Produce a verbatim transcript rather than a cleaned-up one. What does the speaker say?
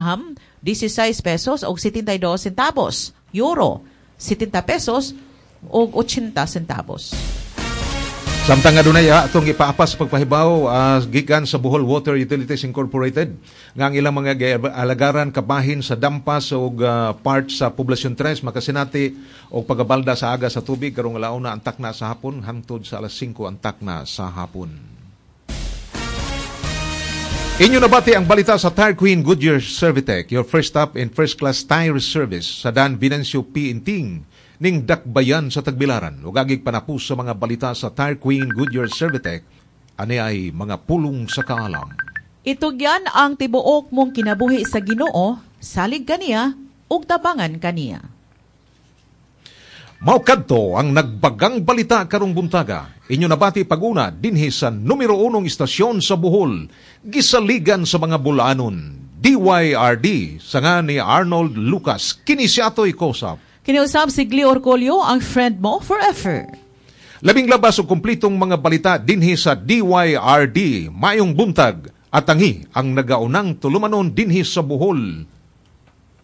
Dirham, sixteen pesos og setenta y dos centavos. Euro, setenta pesos og ochenta centavos. Samtang adunay atong ipaapas sa pagpahibaw uh, gikan sa Bohol Water Utilities Incorporated nga ang ilang mga alagaran kabahin sa Dampas ug uh, part sa Poblacion tres makasinati og pagabalda sa aga sa tubig karong alauna ang takna sa hapon hangtod sa alas singko ang takna sa hapon. Inyo nabati ang balita sa Tire Queen Goodyear Servitech, your first stop in first class tire service sa Dan Venancio P. Inting ning Dakbayan sa Tagbilaran. Ug agig panapus sa mga balita sa Tire Queen Goodyear Servitech, ani ay mga pulong sa kaalam. Itugyan ang tibuok mong kinabuhi sa Ginoo, salig kaniya ug tabangan kaniya. Mao kadto ang nagbagang balita karong buntaga. Inyo nabati pag-una dinhi sa numero unong istasyon sa Bohol, gisaligan sa mga bulanon. D Y R D sa nga ni Arnold Lucas. Kini si Atoy Kosap. Kiniusab si Gli Orcolio, ang friend mo forever. Labing labas og kumplitong mga balita dinhi sa D Y R D. Maayong buntag at tangi ang nagaunang tulumanon dinhi sa Bohol.